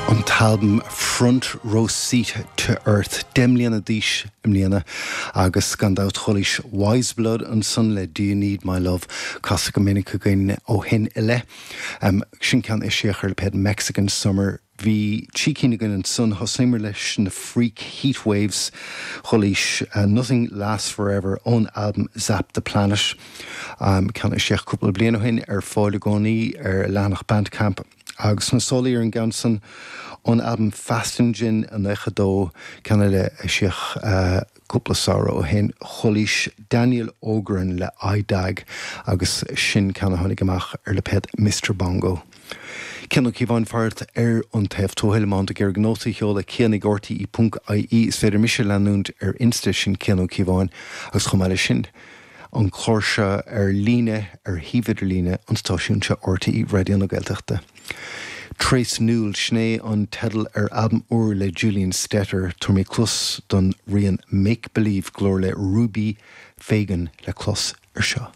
An t-albam Front Row Seat to Earth, 10 mbliana d'aois i mbliana agus gan dabht chualaís Weyes Blood ansan le Do You Need My Love, casta go minic againn ó shin i leith. Sin ceann a eisíodh ar lipéad Mexican Summer. Bhí trí cinn againn ansan, thosnaíomar leis na Freak Heatwaves, chualaís Nothing Lasts Forever ón albam Zap The Planet, ceann a eisíodh cúpla bliain ó shin, ar fáil i gcónaí ar a leathanach Bandcamp. Agus na sólaí ar an gceann san ón albam Fastin' Gin 92, ceann eile a eisíodh cúpla samhradh ó shin, chualaís Daniel Ogren le I Dag agus sin ceann a tháinig amach ar lipéad Mister Bongo. Cian Ó Cíobháin faracht ar an taobh tuathail, má tá tú ag iarraidh nóta a sheoladh, cian ag rte ponc ie. Is féidir mise a leanúint ar Insta, sin Cian Ó Cíobháin, agus chomh maith leis sin, an clár seo ar líne ar shuíomh idirlíne an stáisiúin seo, RTÉ Raidió na Gaeltachta. Trace Newell, sin é an teideal ar albam úr le Julian Stetter. Tabharfaidh mé cluas don rian Make Believe, glór le Ruby Fagan le clos ar seo.